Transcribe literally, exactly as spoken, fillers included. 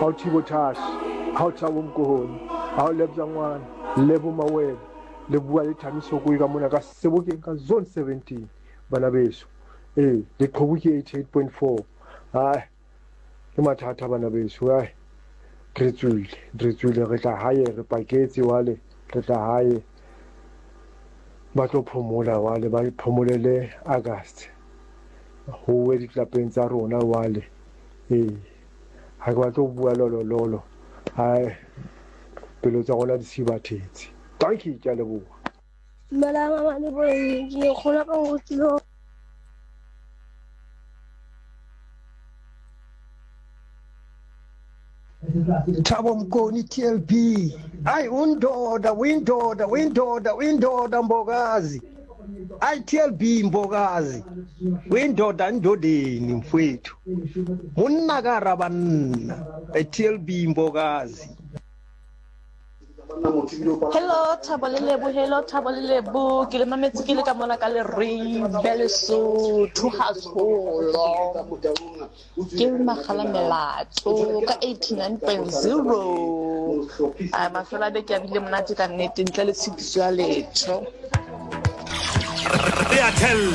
Hao Thibo Thash, hao Thabo Mkohoni, hao Lebza Ngwana, Lebo Mawele, le bua le Thamiso Koi ka mona ka Sebokeng ka zone seventeen bana beso. Ee, leqhubu ke eighty-eight point four. Ai, ke mathata bana beso. Ai, re tswile, re tswile, re tla hae, re paketse wale, re tla hae. Ba tlo phomola wale, ba phomolele August. Ho we ditlapeng tsa rona wale. Ee, ha ke batle ho bua lolololo. Ai, pelo tsa rona di sibathetse. Thank you, ke a leboha. Dumelang mama le bomme, ke nkgono ka nrutile Thabo Mkoni T L B. Ay undoda, windoda, windoda, windoda Mbokazi. Ay T L B Mbokazi. Windoda ndodeni mfowethu. Monna ka ra banna. T L B Mbokazi. Hello Thabo le Lebo, hello Thabo le Lebo. Ke le mametse ke le ka mona ka Leribe Lesotho haholo. Ke Magala Melato ka eighty-nine point zero. A mafelo a beke a bile monate ka nnete ntle le tshitiso ya letho. Re a thella.